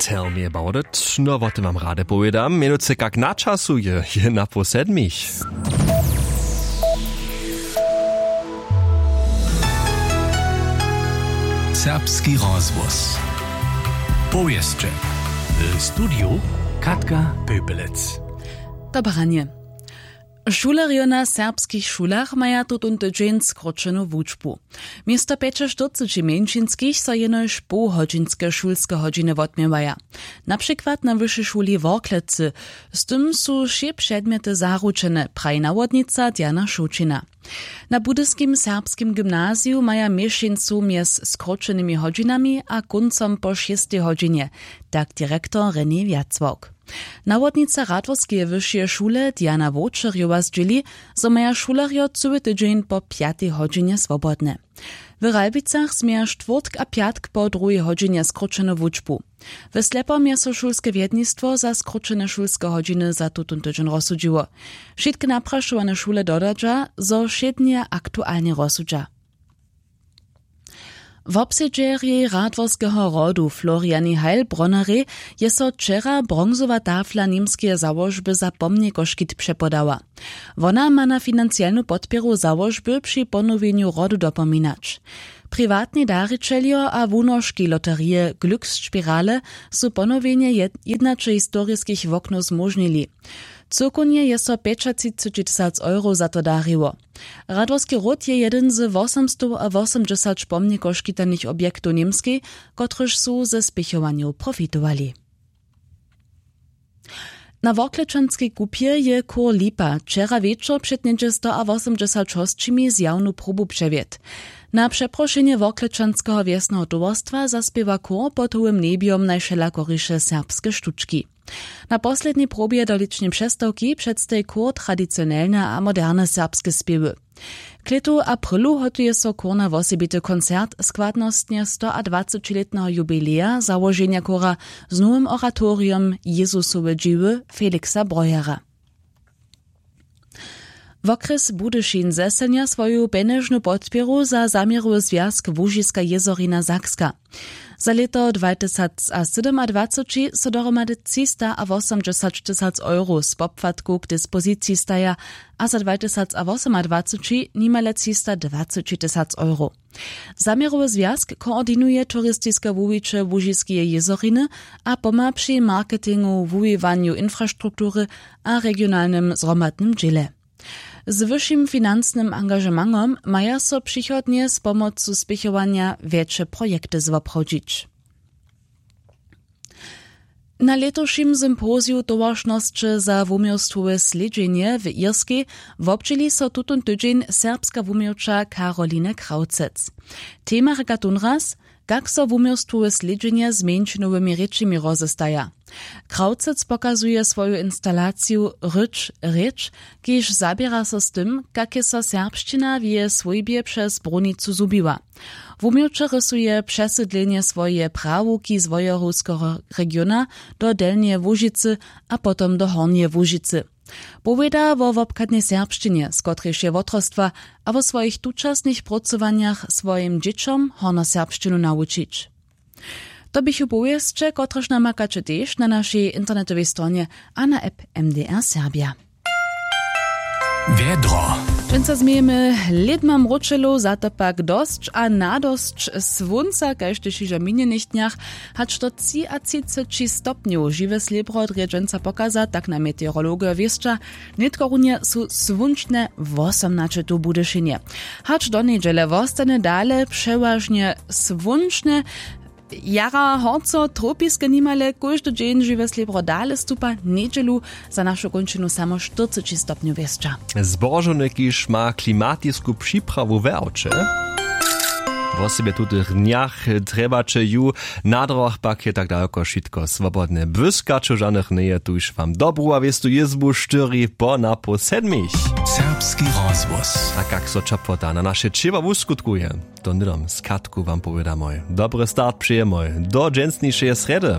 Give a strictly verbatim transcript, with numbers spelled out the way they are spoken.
Tell me about it. No, wo tym wam rady powědam. Mjenujcy kak na času je, je na pół sedmich. Serbski rozhłos. Powěsće. W studiju Katka Pöpelec. Dobranje. Šulerjo na serbskich šulach maja tutón tydźeń skróćenu wučbu. Město pjećaštyrceći mjeńšinskich so jenož połhodźinske šulske hodźiny wotměwaja. Na přikład na wyšej šuli w Worklecy. Z tym su wšě předmjety zaručene, praji nawodnica Diana Šołćina. Na budyskim serbskim gymnaziju maja měšeńcu mjez skróćenymi hodźinami a kóncom po šěstej hodźinje, tak direktor René Wjacławk. Nawodnica Radworskeje wyšeje šule Diana Wołčerjowa zdźěli, zo maja šulerjo cyły tydźeń po pjatej hodźinje swobodne. W Ralbicach změja štwórtk a pjatk po druhej hodźinje skróćenu wučbu. W Slepom je so šulske wjednistwo za skróćene šulske hodźiny za tutón tydźeń rozsudźiło. Wšitke naprašowane šule dodadźa, zo wšědnje aktualnje rozsudźa. Wobsedźerjej Radworskeho rodu Floriani Heilbronnerej je so wčera bronzowa tafla němskeje załožby za pomnikoškit přepodała. Wona ma na financielnu podpěru załožby při ponowjenju rodu dopominać. Priwatni darićeljo a wunoški loterije Glücksspirale su ponowjenje jed- jědnaće historiskich woknow zmóžnili. Cyłkownje je so pjećatřiceći tysac euro za to dariło. Radworski ród je jedyn z wosomstowawosomdźesać pomnikoškitanych objektow w Němskej, kotryž su ze spěchowanjow profitowali. Na Worklečanskej kupje je chór Lipa wčera wječor před něhdźe stoawosomdźesać hosćimi zjawnu probu přewjedł. Na přeprošenje Worklečanskeho wjesneho towarstwa zaspěwa chór pod hołym njebjom najwšelakoriše serbske štučki. Na poslednjej probje do lěćneje přestawki předstaji chór tradicionelne a moderne serbske spěwy. K lětu aprylu hotuje so chór na wosebity koncert składnostnje stoadwacećilětneho jubileja załoženja chóra z nowym oratoriom Jezusowe dźěły Felixa Breuera. Wokrjes Budyšin zeselnja swoju pjenježnu podpěru za zaměrowy zwjazk Łužiska jězorina Sakska. Za lěto dwatysacsydomadwaceći so dohromady třistawosomdźesaćtysac euro z popłatkow k dispoziciji staja a za dwatysacwosomadwaceći nimale třistadwacećitysac euro. Zaměrowy zwjazk koordinuje turistiske wuwiće Łužiskeje jězoriny a pomha při marketingu, wuwiwanju infrastruktury a regionalnym zhromadnym dźěle. Z wyšim financnym angažementom maja so přichodnje z pomocu spěchowanja wjetše projekty zwoprawdźić. Na lětušim sympoziju towaršnosće za wuměłstwowe slědźenje w Irskej wobdźěli so tutón tydźeń serbska wuměłča Karoline Krawcec. Tema rěka tónraz, kak so wuměłstwowe slědźenje z mjeńšinowymi rěčemi rozestaja. Krawcec pokazuje swoju instalaciju Rěč, rěč, kiž zaběra so z tym, kak je so serbšćina w jeje swójbje přez brunicu zhubiła. Wuměłčerjej rysuje přesydlenje swojeje prawuki z wojerowskeho regiona do Delnjeje Łužicy a potom do Hornjeje Łužicy. Powěda wo wobchadnej serbšćinje, z kotrejž je wotrostwa, a wo swojich tučasnych prócowanjach swojim dźěćom hornjoserbšćinu nawučić. To běchu powěsće, kotrež namakaće tež na našej internetowej stronje a na app M D R Serbja. Wjedro. Dźensa změjemy lědma mróčelow, za to pak dosć a nadosć słónca, kaž tež hižo w minjenych dnjach. Hač do třiatřiceći stopnjow žiwe slěbro drje dźensa pokaza, tak nam meteorologojo wěsća. Nětko runje su słónčne wosomnaće tu w Budyšinje. Hač do njedźele wostanje dale přewažnje słónčne. Jara horco, tropiske nimale, kóždy dźeń žiwe slěbro dale stupa. Njedźelu za našu kónčinu samo štyrceći stopnjow wěsća. Zbožowny, kiž ma klimatisku připrawu w awće. Wosebje w tutych dnjach trjebaće ju, na drogach pak je tak dalko wšitko swobodne. Błyskaćow žanych njeje, tuž wam dobru a wěstu jězbu štyri po na pół sedmich. Serbski rozhłos. A kak so ćeplota na naše ćěło wuskutkuje, to hnydom z Katku wam powědamoj. Dobry start přejemoj do dźensnišeje srjedy.